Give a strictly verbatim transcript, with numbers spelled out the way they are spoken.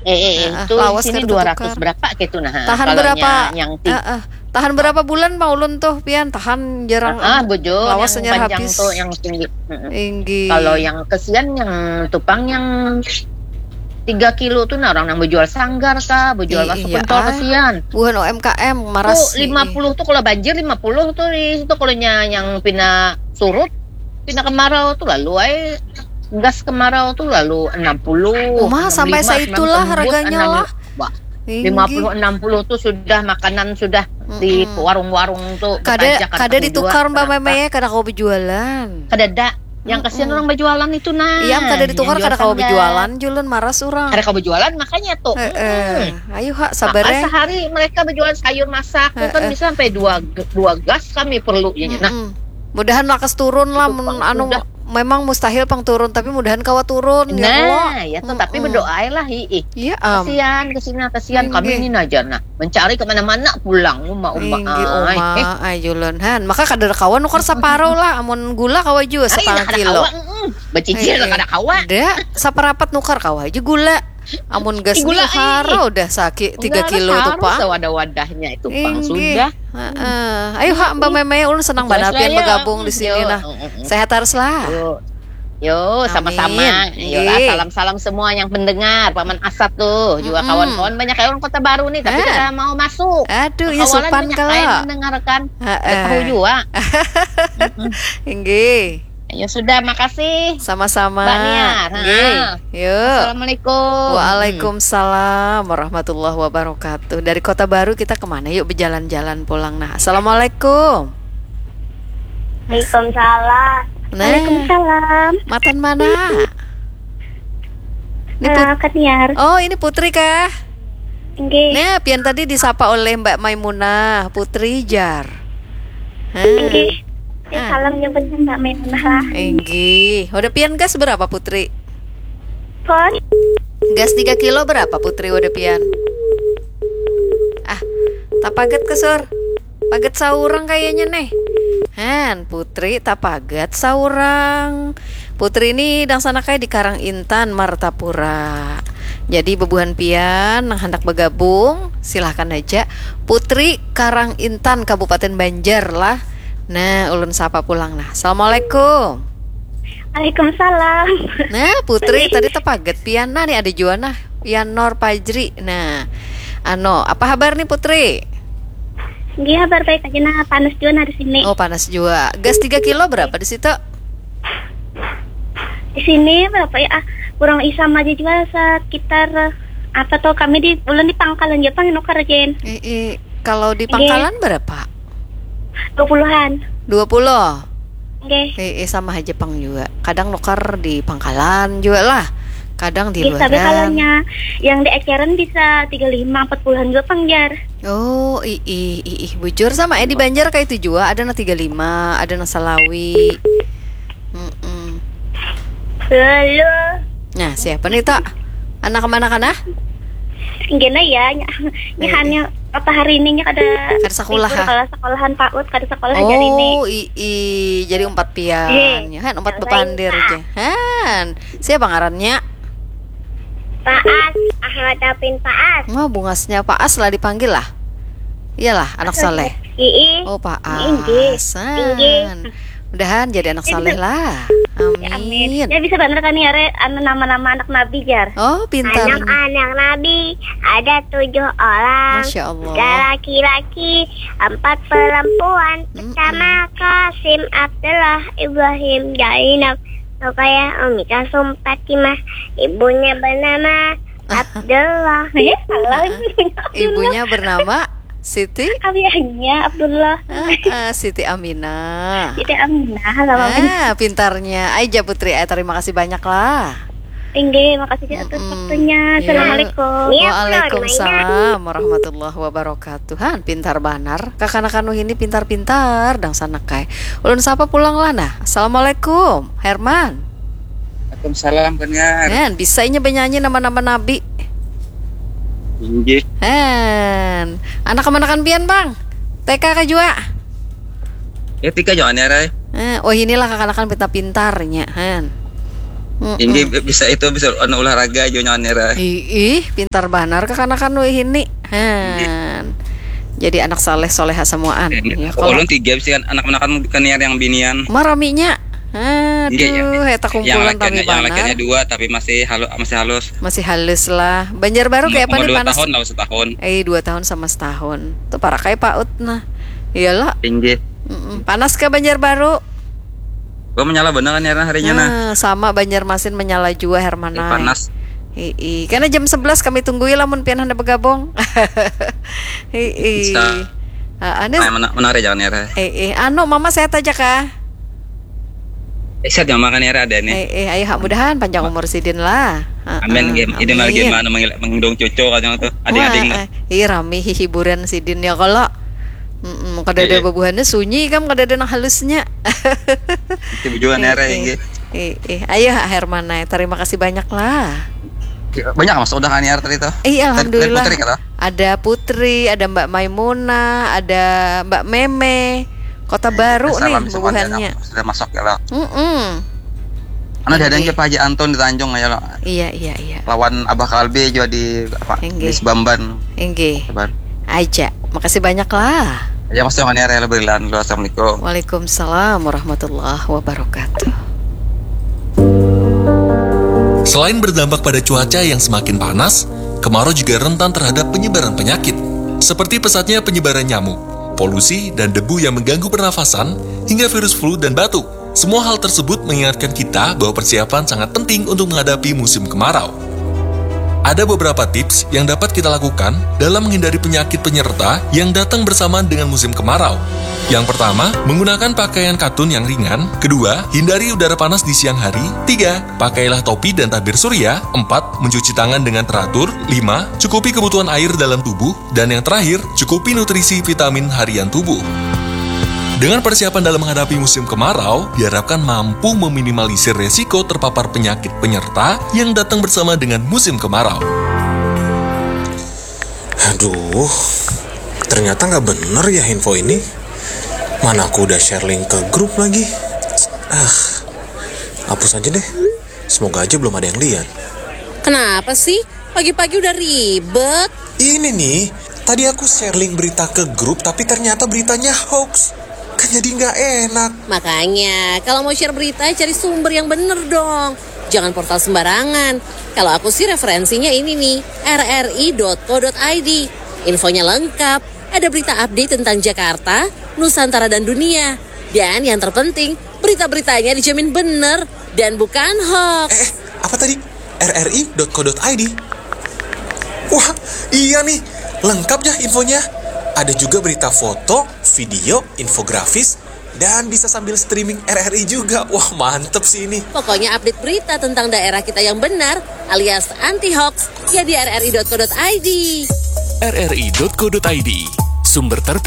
Eh, eh, eh, Heeh, itu di lawas sini kada dua ratus tatukar. Berapa gitu nah. Tahan Kalau berapa? nya- yang tinggi. Heeh. Tahan berapa bulan, Pak Ulun, tuh, pian? Tahan jarang, Ah, anu, bujur lawas yang hanyar panjang habis. Tuh yang tinggi. Mm-mm. Inggih. Kalau yang kesian yang tupang yang tiga kilo tuh nah, orang yang berjual sanggar kah, berjual I- masuk iya, pentol ah. Kesian. Buhan O M K M, maras. Tuh lima puluh tuh kalau banjir lima puluh tuh di situ kalau nya- yang pina surut, pina kemarau tuh lalu ay gas kemarau tuh lalu enam puluh. Uma, sampai saitulah harganya lah. Wah, Inggih. lima puluh enam puluh tuh sudah makanan sudah di Mm-mm. warung-warung tuh Kada, betajakan kada kamu ditukar, jua, Mbak kenapa? Meme, kada kawa berjualan. Kada ada. Yang kasihan Mm-mm. orang berjualan itu nah. Iya, kada ditukar, Yang kada jual kawa sanggar. Berjualan, julun maras orang. Kada kawa berjualan makanya tuh. Heeh. Mm-mm. Ayo, ha, Maka sabar, eh. Sehari mereka berjualan sayur masak tuh kan Heeh. Bisa sampai dua dua gas kami perlu ya. Nah, Mm-mm. Mudahan lakas turun lah, Itu mun pang anu, sudah. Memang mustahil pang turun, tapi mudahan kawa turun, ya Allah. Nah, ya tuh tapi Mm-mm. Berdoa lah, ih. Iya, am. Kasihan, kesian, kasihan. Kami Inggih. Ini aja nah, mencari kemana-mana pulang, uma, uma, Inggih, ay. Uma, ay, julun. Han, maka kada kawa nukar saparo lah, amun gula kawa jua Ay, satangah kada kilo. Kawa. Mm-mm. Becicil Eh, eh. Kada kawa. Nda, saparapat nukar kawa aja gula. Amun gas Gula, ni haro ih. Udah sakit tiga Enggak, kilo tu, harus pang. Wadah-wadahnya itu pang Inggih. Sudah. Heeh. Ayo, ha, Mbak Meme, ulun senang Jelas banar lah, pian ya. Bergabung di sini, Yo, nah. mm, mm, mm. Sehat harus lah. Yo. Yo, Amin. Sama-sama. Yo lah, Inggih. Salam-salam semua yang pendengar. Paman Asat tuh juga Mm-mm. Kawan-kawan banyak kayak orang Kota Baru nih, tapi Hah? Kada mau masuk. Aduh, iya, Kawalan supan banyak kala. Kayak mendengarkan. Heeh. Nggak tahu juga. Inggih. Ya sudah, makasih. Sama-sama. Mbak Niar. Inggih. Ha. Yuk. Assalamualaikum. Waalaikumsalam warahmatullahi wabarakatuh. Dari Kota Baru kita kemana? Yuk, berjalan-jalan pulang. Nah, assalamualaikum. Waalaikumsalam. Nah. Waalaikumsalam. Matan mana? Ini Put- Eh, Kak Niar. Oh, ini Putri kah? Inggih. Nah, pian tadi disapa oleh Mbak Maimunah, Putri jar. Hah. Inggih. Ah. Salam nyebutnya Mbak Maimunah lah. Inggih. Wadah pian gas berapa, Putri? Pon. Gas tiga kilo berapa, Putri, wadah pian? Ah, tapagat ke, Sur. Pagat saurang kayaknya nih. Han, Putri tapagat saurang. Putri ini dangsanak ai di Karang Intan, Martapura. Jadi bebuhan pian nang handak bagabung, silahkan aja. Putri Karang Intan, Kabupaten Banjar lah. Nah, ulun sapa pulang nah. Assalamualaikum. Waalaikumsalam. Nah, Putri tadi tapagat pian nah, nih ada jua nah. Pian Nor Pajri. Nah, ano, apa habar nih, Putri? Nggih, habar baik aja nah, panas juga nah di sini. Oh, panas jua. Gas tiga kilo berapa di situ? Di sini berapa ya? Ah, kurang isam aja juga sekitar apa tuh, kami di ulun di Pangkalan Jepang nukar, Jen. Eh, eh, kalau di Nggih. Pangkalan berapa? Dua puluhan. Dua puluh. Nggih. Eh, eh, sama aja pang juga. Kadang nukar di Pangkalan juga lah. Kadang di Nggih, tapi kalau luaran. nya yang di eceran bisa tiga lima, empat puluhan juga pang, jar. Oh, ih, ih, ih, ih. Bujur sama eh di Banjar kayak itu juga. Ada nang tiga lima, ada nang salawi. Mm-mm. Halo. Nah, siapa nih, Tok? Anak mana kana? Gini ya, nya, nya Eh, hanya apa hari ini nya kada Kada sekolah, libur, ah? Kalau sekolahan paut kada sekolah jadi ini. Oh, ii, jadi umpat pian. Eh, Ya kan, umpat yang bepandir lain, aja. Han, siapa ngarannya? Paas, Ahmad Apin Paas. Wah, bungasnya Paas lah dipanggil lah. Iyalah, anak soleh. Ii. Oh, Paas. Inggih. Han. Mudahan jadi anak soleh lah. Amin. Amin. Ya bisa bener kan ya, Re, anu nama-nama anak nabi, jar. Oh, pintar. Anak-anak nabi ada tujuh orang. Masya Allah. Tiga laki-laki, empat perempuan. Mm-mm. Pertama Kasim, Abdullah, Ibrahim, Zainab, Rukayah, Umi Kalsum, Fatimah. Ibunya bernama Abdullah. Ya, salah. Ibunya bernama Siti. Ayahnya Abdullah. Ah, ah, Siti Aminah. Siti Aminah, lama banget. Ah, pintarnya. Aja Putri, eh, terima kasih banyak lah. Inggih, makasih atas Mm-mm. Waktunya. Iya. Assalamualaikum. Waalaikumsalam warahmatullahi wabarakatuh. Han, pintar banar. Kakanakan ini pintar-pintar dangsanak ai. Ulun sapa pulang lah nah. Assalamualaikum, Herman. Waalaikumsalam, Kak Niar. Han, bisa inya benyanyi nama-nama nabi. Inggih. Han, anak kemanakan pian, Bang? T K kah jua? Ya, T K jua, Niar, ai. Eh, oh, inilah kakanakan pintar-pintarnya, Han. Inggih, bisa itu, bisa anu, olahraga jua nyawa Nera. Ih, pintar banar kakanakan wih ini. Han. Jadi anak saleh soleha samuaan. Ya, kalau ulun tiga bisi kan anak-anakan kaniar yang binian. Maraminya. Aduh, eta kumpulan rami banar. Yang lakiannya dua tapi masih halus, masih halus. Masih halus lah. Banjarbaru kayak apa nih, panas? Umur dua tahun lah, setahun. Eh, dua tahun sama setahun. Tuh parak kayak paut nah. Iyalah. Inggih. Panas ke Banjarbaru? Gua menyala bener kan ya harinya nah. Ah, sama Banjarmasin menyala jua Hermana. Eh, panas. Ii, karena jam sebelas kami tunggui lamun pian hendak bergabung. Ii. Ah, anu. Nah, mena- menarik jangan ya. Eh, eh, anu, mama sehat aja kah? Eh, sehat ya, makan ya ada nih. Eh, eh, ayo hak mudahan panjang umur sidin lah. Ah, amin. Ah, game ini malah game amin. Mana mengil- menggendong cucu kadang tuh. Ading-ading. Wah, ah, ih, rami hiburan sidin ya kalau. Mm-mm, kada ada. Iya. Bebuhannya sunyi kam, kada ada nang halusnya. Itu bejuan ya, Rai, eh, eh, eh, ayo, Hermana, terima kasih banyak lah. Banyak mas udah kan ya tadi tuh. Iya, alhamdulillah. Putri kata. Ada Putri, ada Mbak Maimunah, ada Mbak Meme. Kota Baru nih bubuhannya. Sudah masuk ya lo. Mm-mm. Karena ada yang Pak Haji Anton di Tanjung ya lo. Iya, iya, iya. Lawan Abah Kalbi juga di apa? Di Sebamban. Enggih. Aja. Makasih banyak lah. Ya mas, jangan ya, Rela Berilan. Assalamualaikum. Waalaikumsalam warahmatullahi wabarakatuh. Selain berdampak pada cuaca yang semakin panas, kemarau juga rentan terhadap penyebaran penyakit, seperti pesatnya penyebaran nyamuk, polusi, dan debu yang mengganggu pernafasan, hingga virus flu dan batuk. Semua hal tersebut mengingatkan kita bahwa persiapan sangat penting untuk menghadapi musim kemarau. Ada beberapa tips yang dapat kita lakukan dalam menghindari penyakit penyerta yang datang bersamaan dengan musim kemarau. Yang pertama, menggunakan pakaian katun yang ringan. Kedua, hindari udara panas di siang hari. Tiga, pakailah topi dan tabir surya. Empat, mencuci tangan dengan teratur. Lima, cukupi kebutuhan air dalam tubuh. Dan yang terakhir, cukupi nutrisi vitamin harian tubuh. Dengan persiapan dalam menghadapi musim kemarau, diharapkan mampu meminimalisir resiko terpapar penyakit penyerta yang datang bersama dengan musim kemarau. Aduh, ternyata nggak bener ya info ini. Mana aku udah share link ke grup lagi. Ah, hapus aja deh. Semoga aja belum ada yang lihat. Kenapa sih? Pagi-pagi udah ribet. Ini nih, tadi aku share link berita ke grup, tapi ternyata beritanya hoax. Kan jadi nggak enak. Makanya, kalau mau share berita, cari sumber yang bener dong. Jangan portal sembarangan. Kalau aku sih referensinya ini nih, R R I dot co dot I D. Infonya lengkap, ada berita update tentang Jakarta, Nusantara dan dunia. Dan yang terpenting, berita-beritanya dijamin bener dan bukan hoax. Eh, eh, apa tadi? R R I dot co dot I D. Wah, iya nih, lengkap ya infonya. Ada juga berita foto, video, infografis, dan bisa sambil streaming R R I juga. Wah, mantep sih ini. Pokoknya update berita tentang daerah kita yang benar alias anti hoax ya di R R I dot co dot I D. R R I dot co dot I D, sumber terpercaya.